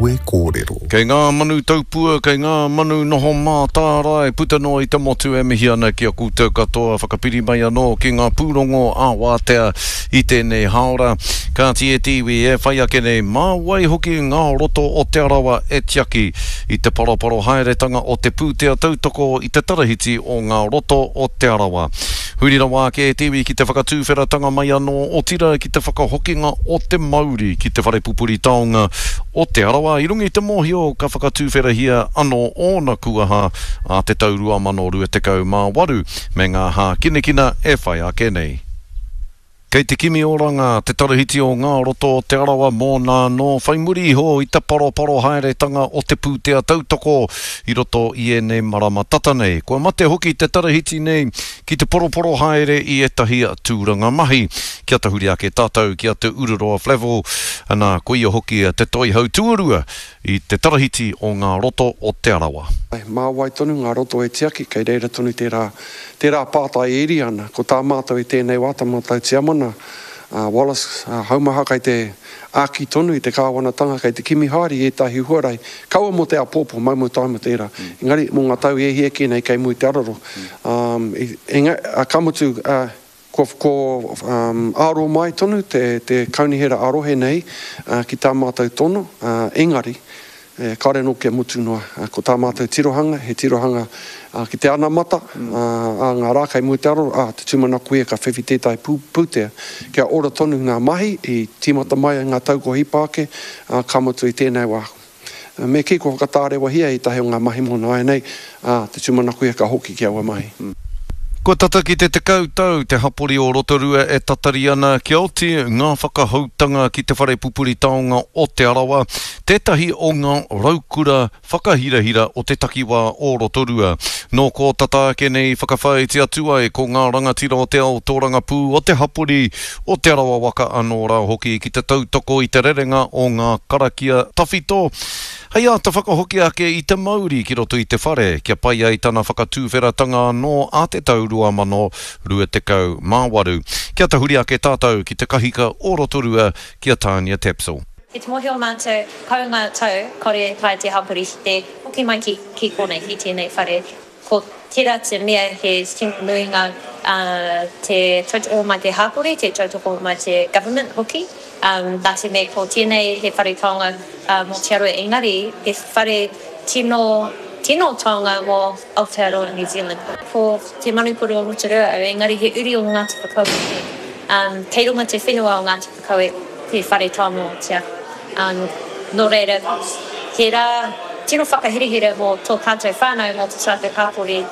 Kue Kōrero. Kei ngā manu taupua, kei ngā manu noho mātārae puta noa i te motu e mihi ana ki a koutou katoa whakapiri mai anō ki ngā pūrongo ā-wātea i tēnei hāora. Kāti e te iwi e whai ake nei, mā wai hoki ngā roto o Te Arawa e tiaki i te paroparo haeretanga o te pūtea tautoko i te tarahiti o ngā roto o Te Arawa. Huri rawa ake e te iwi ki te whakatūwheratanga mai anō, otirā ki te whakahokinga o te mauri ki te whare pupuri taonga o Te Arawa i runga i te mōhio ka whakatūwherahia anō ōna kuaha ā te tau 2028 me ngā hākinakina e whai ake nei. Kei te kimi oranga te tarahiti o ngā roto o Te Arawa mōna anō whai muri iho i te paroparo haeretanga o te pūtea tautoko i roto i ēnei marama tata nei. Kua mate hoki te tarahiti nei ki te poroporo haere i ētahi tūranga mahi. Kia tahuri ake tātou ki a Te Ururoa Flavell, ana, ko ia hoki te toihau tuarua i te tarahiti o ngā roto o Te Arawa. Mā wai tonu ngā roto e tiaki, kei reira tonu tērā, tērā pātai e iri ana. Ko tā mātou i tēnei wā, tā mātou tiamana, a Wallace Haumaha kei te āki tonu i te kāwanatanga, kei te kimi haere i ētahi huarahi, kaua mō te āpōpō, maumau taima tērā, engari mō ngā tau e hia kē nei kei mua i te araro. Ka mutu, Kua aro mai tonu te kaunihera ā-rohe nei ki tā mātou tono, engari, kāore anō kia mutu noa. Ko tā mātou tirohanga, he tirohanga ki te anamata, ā ngā rā kei mua i te aro, ā, te tūmanako ia ka whiwhi tētahi pūtea kia ora tonu ngā mahi i tīmata mai ai ngā tau kua hipa ake, ā, ka mutu i tēnei wā. Me kī kua whakatārewahia ētahi o ngā mahi mō nāianei, ā, te tūmanako ia ka hoki ki aua mahi. Kua tata ki te 10 tau te hapori o Rotorua e tatari ana kia oti ngā whakahoutanga ki te whare pupuri taonga o Te Arawa, tētahi o ngā raukura whakahirahira o te takiwā o Rotorua. Nō kō tata ake nei i whakawhāiti atu ai ko ngā rangatira o te ao tōrangapū o te hapori o Te Arawa waka anō rā hoki ki te tautoko i te rerenga o ngā karakia tawhito hei āta whakahoki ake i te mauri ki roto i te whare kia pai ai tana whakatūwheratanga anō a te tau 2028. Kia tahuri ake tātou ki te kahika o Rotorua ki a Tania Tapsell. Ki te mōhio mātou, kau ngā tau, kore e taea te hapori ki te hoki mai ki konei, ki tēnei whare. Ko tera te mea he tino nuinga te tautoko mai te hapori, te tautoko mai te government hoki, na te mea ko tenei he whare taonga mo Te Arawa engari he whare tino, tino taonga mo Aotearoa New Zealand. Ko Te Manukura o Rotorua au engari he uri o Ngāti Whakaue hoki. Kei runga te whenua o Ngāti Whakaue te whare taonga o Te Arawa. Nō reira, he rā tino whakaherehere mō tō tātou whānau, mō tō tātou hapori.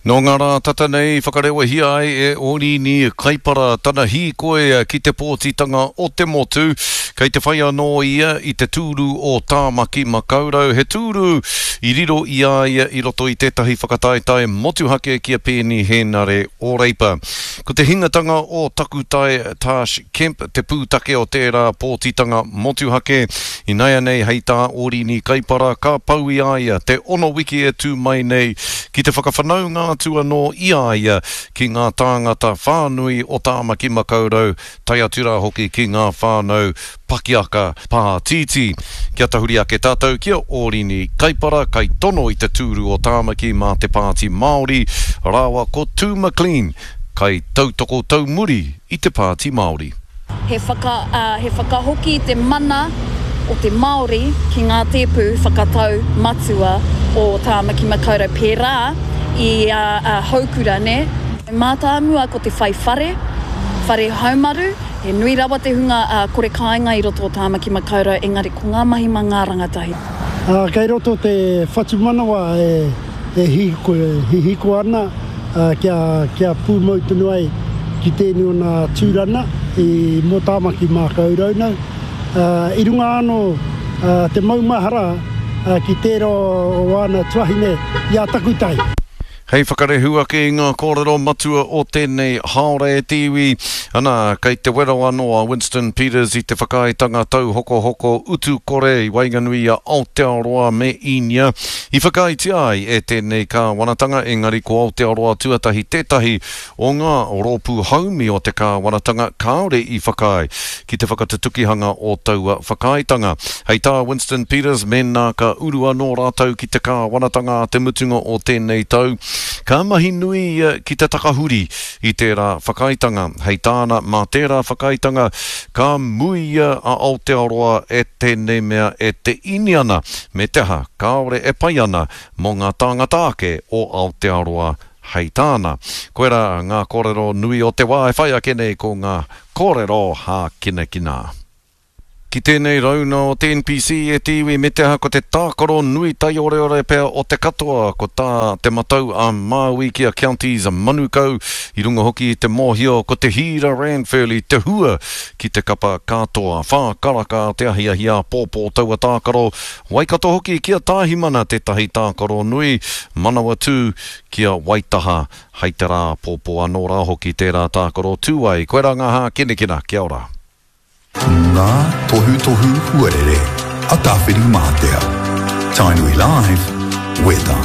Nō ngā rā tata nei i whakarewahia ai e Ōrīni Kaipara tana hīkoi ki te pōtitanga o te motu. Kei te whai anō ia i te tūru o Tāmaki Makaurau, he tūru i riro i a ia i roto i tētahi whakataetae motuhake ki a Peeni Hēnare o Reipa. Ko te hingatanga o Takutai Tarsh Kemp te pūtake o tērā pōtitanga motuhake. Inaianei hei tā Ōrini Kaipara ka pau i a ia te ono wiki e tū mai nei ki te whakawhanaunga atu anō i a ia ki ngā tāngata whānui o Tāmaki Makaurau tae atu rā hoki ki ngā whānau pakiaka pātītī. Kia tahuri ake tātou ki a Ōrini Kaipara kaitono i te tūru o Tāmaki mā te Pāti Māori rāua ko Tū McLean kaitautoko taumuri i te Pāti Māori. He whaka, ā, he whakahoki i te mana o te Māori ki ngā tēpu whakatau matua o Tāmaki Makaurau pērā i a, a Houkura, nē. Mātāmua ko te whai whare, whare haumaru, he nui rawa te hunga, ā, kore kāinga i roto o Tāmaki Makaurau engari ko ngā mahi mā ngā rangatahi. Ā, kei roto te whatumanawa e, e hihiko ana kia pūmau tonu ai ki tēnei o nā tūrana i mō Tāmaki Mākaurau nau. I runga anō te maumahara ki tērā o āna tuahine i a Takutai. Hei whakarehu ake i ngā kōrero matua o tēnei hāora e te iwi, ana, kei te wero anō a Winston Peters i te whakaaetanga tauhokohoko utu kore i waenganui i a Aotearoa me Īnia i whakaaetia ai e tēnei kāwanatanga, engari ko Aotearoa Tuatahi tētahi o ngā rōpū haumi o te kāwanatanga kāore i whakaae ki te whakatutukihanga o taua whakaaetanga. Hei tā Winston Peters, mēnā ka uru anō rātou ki te kāwanatanga a te mutunga o tēnei tau, ka mahi nui ia ki te takahuri i tērā whakaaetanga. Hei tāna, mā tērā whakaaetanga ka muia a Aotearoa e tēnei mea e te Īniana, me te aha, kāore e pai ana mō ngā tāngata ake o Aotearoa Hei tāna, koirā ngā kōrero nui o te wā e whai ake nei ko ngā kōrero hākinakina. Ki tēnei rauna o te NPC e te iwi me te aha ko te tākaro nui taioreore pea o te katoa ko tā Te Matau a Māui ki a Counties Manukau i runga hoki i te mōhio ko te hīra Ranfurly te hua ki te kapa katoa. Whā karaka te ahiahi āpōpō taua tākaro Waikato hoki ki a Tāhimana tētahi tākaro nui, Manawatū ki a Waitaha hei te rā pōpō anō rā hoki tērā tākaro tū ai. Koirā ngā hākinakina. Kia ora. Ngā tohutohu huarere a Tāwhirimātea. Tainui Live, Weather.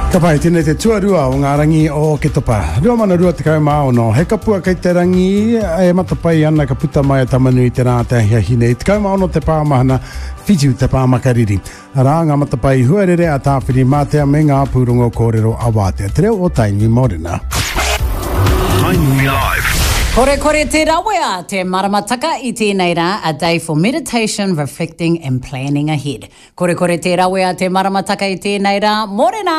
Ka pai, tēnei te tuarua o ngā rangi o Oketopa. 2026, he kapua kei te rangi e matapae ana ka puta mai a Tamanui te rā te ahiahi nei. 16 te pāmahana, whitu te pāmakariri. Arā ngā matapae huarere a Tāwhirimātea me ngā pūrongo kōrero a Wātea. Te reo o Tainui Mōrena. Tainui Live. Korekore te rawea te maramataka i tēnei rā, a day for meditation, reflecting and planning ahead. Korekore te rawea te maramataka i tēnei rā, mōrena!